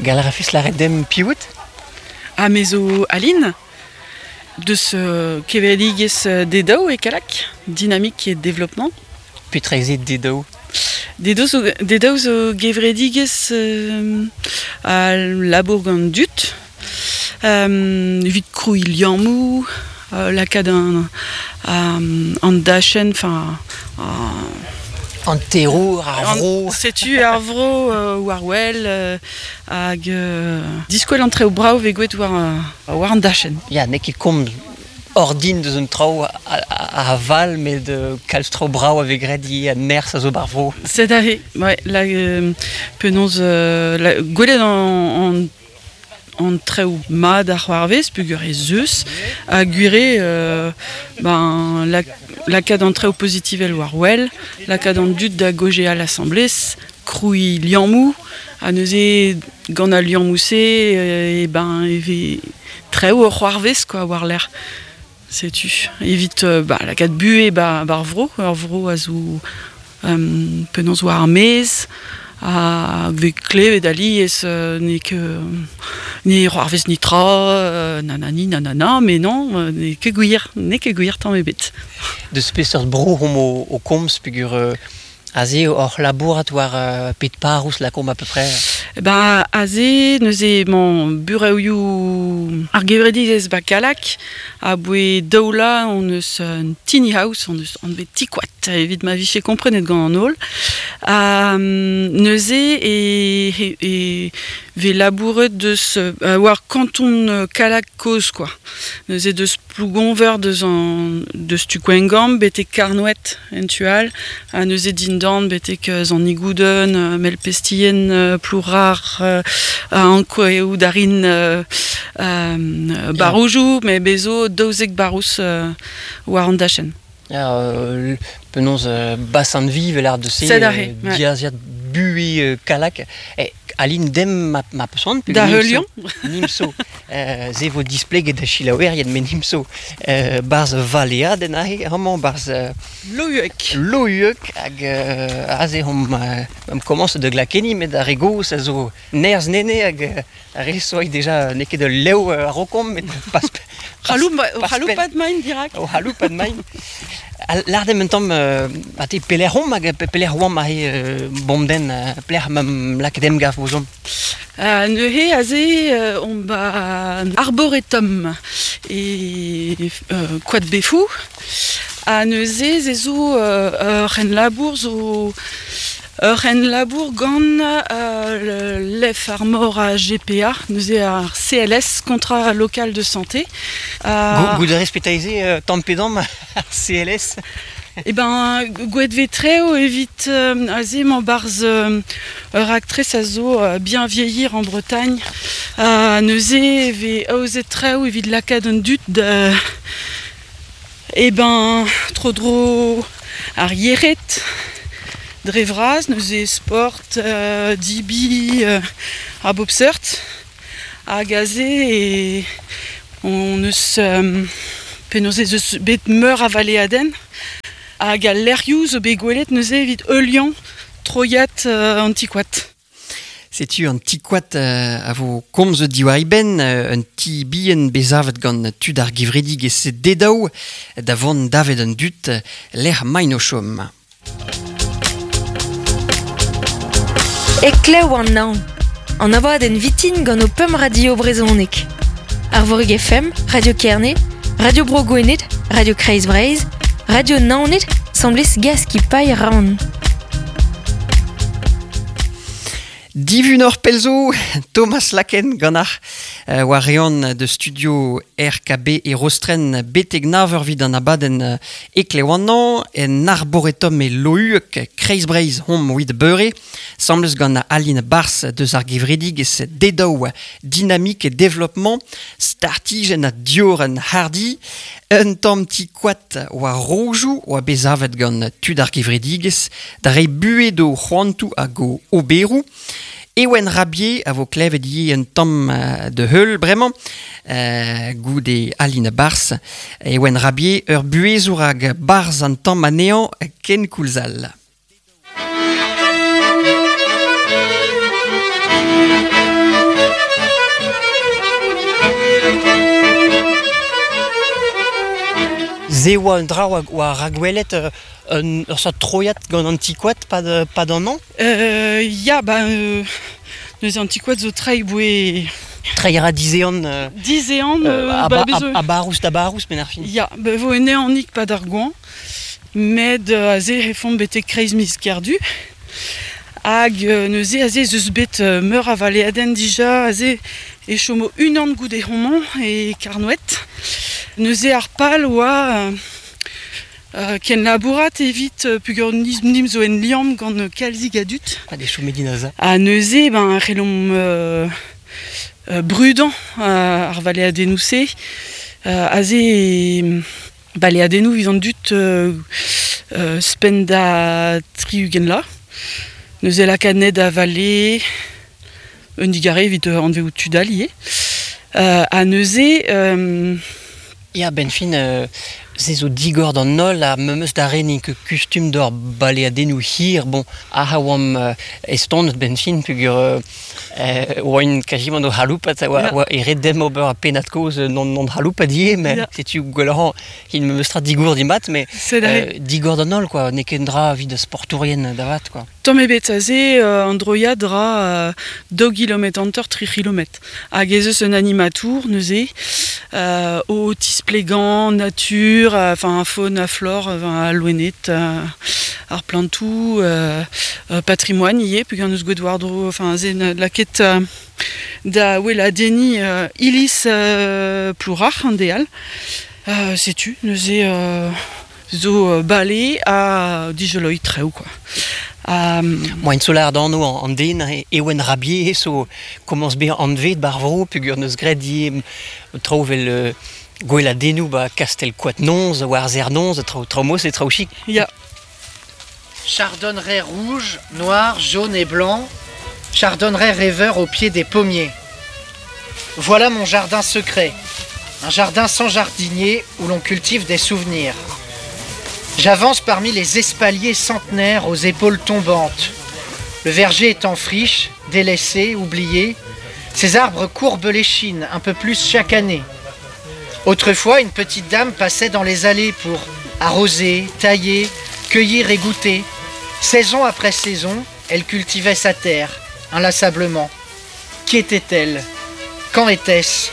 Gall a rafes lâret demp piv out? Ha me zo Aline, deus kevredigezh Dedaou e Kallag, Dynamique et Développement. Petra eo se Dedaou? Dedaou zo, Dedaou zo gevredigezh a labour gant dud evit krouiñ liammoù, lakaat an, an dachenn, enfin An terour, ar vro. Setu ar vro war wel hag diskwel an traoù brav vez gwet war, war an dachenn. Ya, n'eo ket komz ordin deus un traoù a val met kalz traoù brav a vez graet ivez ha nerzh a zo ba'r vro. Sed aze, ouais, la, penaos la, gwelet an, an traoù mat a c'hoarvez peogwir ez eus ha gwir eo ben lakaat an traoù pozitivel war wel, lakaat an dud da gaozeal asambles, krouiñ liammoù ha neuze gant al liammoù-se e ben e vez traoù o c'hoarvez quoi war-lerc'h. Setu evit bah, lakaat buhez ba ar vro, ur vro a zo penaos war ar maez ha vez klevet alies n'eo ket ne c'hoarvez netra nanani nanana mais non n'eo ket gwir, n'eo ket gwir tamm ebet. Deus peseurt bro omp o komz peogwir Aze oc'h labourat war pet parrouz lakaomp à peu près? Ben aze neuze emañ burevioù ar gevredigezh 'ba Kallag. Aboe daou vloaz hon eus un tiny house, hon eus anvet ti-koad evit ma vije komprenet gant an holl. Ha neuze e, e vez labouret deus war kanton Kallag kozh quoi. Neuze deus Plougonver deus an deus tu Gwengamp betek Karnoed en tu all ha neuze dindan betek Sant-Nigouden, Melpestien, Plourar, Ankouaout a rin barroujoù met bez zo 12 barrouz war an dachenn. Ya, penaos bassin-vi vel ar deus se, diaziad buhez Kallag. Eh, Aline dem ma, ma peus c'hoant Da heuliañ Nimso. Se vo displeget da selaouerien met nimso barzh valeadenn aze amañ barzh Lohuec. Lohuec hag aze omp omp komañset da glakenniñ met ar re gozh a zo nerzh nene hag ar re soa deja n'eo ket ul lev a-raokomp met pas C'haloupat maint dirak. O c'haloupat maint. Lâr dimp un tamm ha te pelec'h omp hag pelec'h oamp aze bomden pelec'h 'm lakaet emgav ouzhomp? Neuze aze omp 'ba Arboretum e Koad Befou ha neuze se zo ur c'henlabour zo Ur c'henlabour gant Lef ar Mor ha GPA, neuze ar CLS, Contrat local de santé. Goût a rez petra tamm pe damm ar CLS? Eh ben, gouet vez treo evit aze emañ 'barzh ur raktres a zo bien vieillir en Bretagne. Neuze e vez aozet traoù evit lakaat an dud da Eh ben, tro-dro ar yec'hed dre vras, neuze sport, dibi a bop seurt. Hag aze e hon eus penaos ez eus bet meur a valeadenn. Hag al lec'hioù zo bet gwelet neuze evit heuliañ troiad an ti-koad. Setu an ti-koad a vo komzet diwar e benn, un ti bihan bet savet gant tud ar gevredigezh Dedaou da vont davet an dud lec'h maint o chom. Heklev an naon, an abadenn vitin gant ho pemp radio brezhonek. Arvorig FM, Radio Kerne, Radio Bro Gwened, Radio Kreiz Breizh, Radio Naoned, semblez Gaskipailh Raon. Divunoc'h pell zo, Thomas Laken ganac'h war eon de studio RKB e Rostren betek nav eur 'vit an abadenn Eklev an en Arboretum e Lohuec, Kreiz-Breizh hom 'wit beure, 'sambles gant Aline Bars deus ar gevredigezh Dedaou Dynamique et Développement, startijenn ha diorren hardi, un tamm ti-koad war rojoù oa bet savet gant tud ar gevredigezh da reiñ buhez d'o c'hoantoù hag o oberoù. Ewen Rabier a vo klevet ivez un tamm da heul bremañ, goude Aline Bars. Ewen Rabier, ur buhezour hag barzh an tamm anezhañ kenkoulz all. Ze oa un dra oa ragwelet ur sort troiad gant an ti-koad pad an an? Ya, ba, neuze an ti-koad zo treiñ boe... Treiñ a ra dizehan... Dizehan... a barrouz da barrouz, benn ar fin. Ya, ba vo un ehanig pad ar goañv, met aze e fomp betek kreiz miz Kerdu. Hag neuze aze ez eus bet meur a valeadenn dija, aze e chomo unan goude homañ e Karnoed. Neuze ar pal oa kenlabourat evit peogwir nimp zo en liamm gant kalzik a dud. Ha de chomet din aze. Ha neuze ben c'hellomp brudañ ar valeadennoù-se. Aze baleadennoù evit an dud ouzhpenn da 60 vloaz. Neuze lakaat anezhe da vale un digarez evit anveout tud all ivez. Ha neuze... Ya, benn fin, se zo digor d'an holl ha memes da re n'int ket kustum d'ober baleadennoù hir. Bon, ac'h a oamp estonet benn fin peogwir oaint kazimant o c'haloupat, oa e ret demp ober ar pennad-kozh non c'haloupat ivez, met setu gwelloc'h int memes tra digour dimat, mais digor d'an holl, quoi. N'eo ket un dra evit sportourien da vat, quoi. Tamm ebet aze, an droiad ra 2 kilometr hanter, 3 kilometr. Hag ez eus un animatour neuze o tisplegañ natur, enfin faune ha flore, enfin, al loened, ar plantoù, patrimoine ivez, peogwir n'eus gwet war-dro, enfin aze lakaet da weladenniñ iliz Plourac'h an deal. Setu neuze zo bale ha dijoloiñ traoù quoi. Moaien zo lâret anv an den Ewen Rabier zo komañs bezañ anvet 'bar vro peogwir 'neus graet ivez traoù 'vel gweladennoù 'ba Kastell Koad-Noz war Serr-Noz traoù traoù mod-se traoù chik. Ya. Chardonneret rouge, noir, jaune et blanc, chardonneret rêveur au pied des pommiers. Voilà mon jardin secret, un jardin sans jardinier où l'on cultive des souvenirs. J'avance parmi les espaliers centenaires aux épaules tombantes. Le verger est en friche, délaissé, oublié. Ces arbres courbent l'échine un peu plus chaque année. Autrefois, une petite dame passait dans les allées pour arroser, tailler, cueillir et goûter. Saison après saison, elle cultivait sa terre, inlassablement. Qui était-elle ? Quand était-ce ?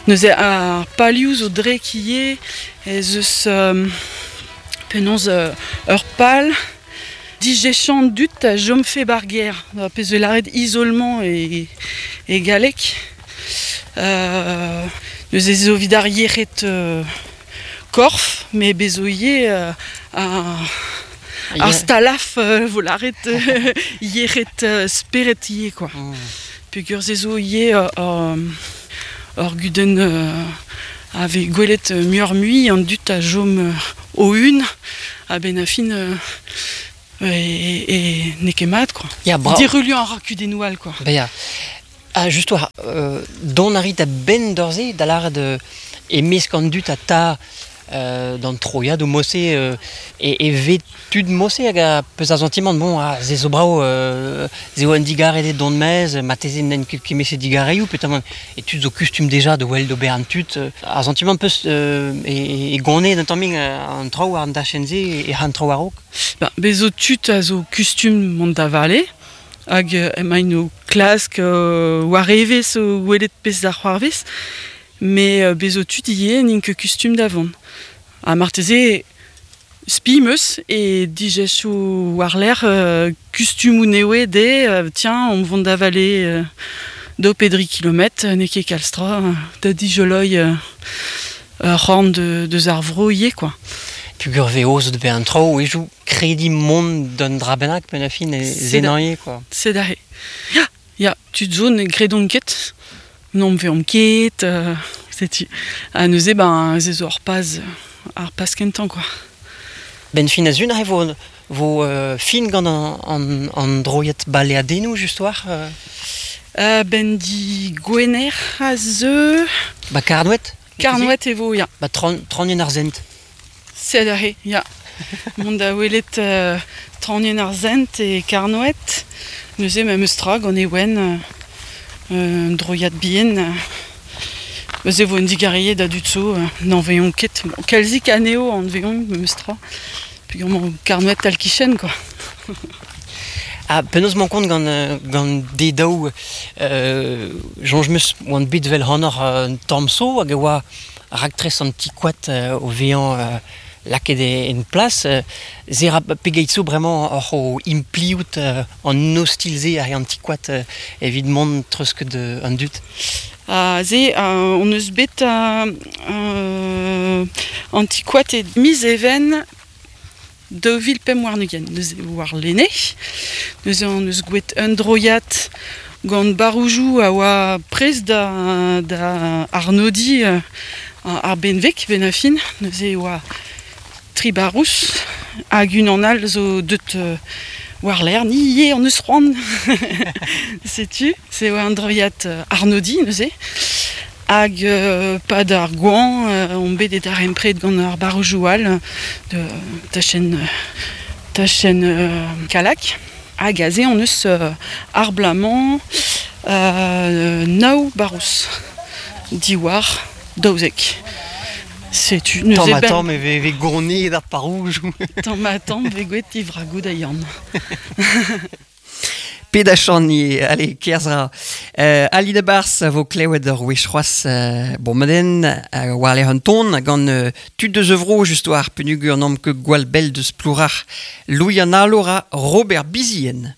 Neuze ar palioù zo drek ivez ez eus penaos ur pal dijechañ an dud a chomfe 'bar gêr, pezh 'vez lâret isolement e galleg. Neuze zo evit ar yec'hed korf, met bez zo ivez ar stalaf vo lâret yec'hed spered ivez quoi. Peogwir se zo ivez ur gudenn a vez gwelet muioc'h-mui an dud a chom o-un a-benn ar fin e n'eo ket mat quoi. Ya, brav. Diruliañ a ra kudennoù all quoi. Ben ya. Ha just war dont a rit a-benn d'ur-se da lâret e-mesk an dud a ta d'an troiadoù mod-se e vez tud mod-se hag a peus ar santimant bon ah se zo brav se eo un digarez eo dont maez marteze n'en ket kement-se digarezioù peotramant e tud zo kustum deja da wel d'ober an tud ar santimant peus e gonez un tammig an traoù war an dachenn-se e c'han traoù a-raok. Ben, bez zo tud a zo kustum mont da vale hag emaint o klask war evezh o welet pezh da c'hoarvez met bez zo tud ivez n'int ket kustum da vont. Ha marteze spi 'm eus e dijecho war-lerc'h kustumoù nevez dezhe, tiens on vont da vale daou pe dri kilometr, n'eo ket kalz tra da dijoloiñ ur c'horn deus ar vro ivez quoi. Peogwir vez aozet bezañ an traoù e krediñ mont d'un dra bennak penn ar fin e zenañ eo quoi. Sed aze. Ya, ya, tud zo ne gredont ket, n'omp veomp ket, setu. Ha neuze ben se zo ar paz, ar paz kentañ quoi. Benn fin a-zun aze vo fin gant an droiad baleadennoù just war Ben di Gwener a zeu. Ba Karnoed? Karnoed e vo, ya. Ba Traoñienn ar Sent. Sed aze, ya. Mont da welet Traoñienn ar Sent e Karnoed. Neuze memes tra gant Ewen, un droiad bihan, neuze vo un digarie da dud zo, n'en veillon ket. Bon, kalzik anezho an veillon memes tra. Puis gant karnoet tal kichen, quoi. Ha penaos mañ kont gant, gant de daou soñj 'meus oan bet 'vel hanoc'h un tamm zo hag e oa raktres an ti-koad o vezañ lakaet en plas. Se ra pegeit zo bremañ oc'h o impliout an ostilh-se hag an ti-koad evit mont treuzket an dud? Ha se hon eus bet an ti-koad e miz Even 2025, neuze warlene. Neuze hon eus gwelet un droiad gant baroujoù a oa prest da, da arnodiñ ar benveg benn ar fin. Neuze e oa tri barrouz hag unan all zo deut war-lerc'h. Ni ivez hon eus c'hoant. Setu, se oa un droiad arnodiñ neuze. Hag pad ar goañv omp bet e darempred gant ar barrojoù all de tachenn tachenn Kallag. Hag aze hon eus ar bloaz-mañ nav barrouz diwar 12. Setu neuze Tamm ha tamm e vez goneet ar parroujoù. Tamm ha tamm 'vez gwelet divragoù da Yann. Pet achan allez, kerzh ra. Ali da Bars a vo klevet ur wech c'hoazh bon maden war-lerc'h un ton gant tud deus e vro just war penugur n'omp ket gwall bell deus Plourac'h. Louis an Alo ra Robert Bizien.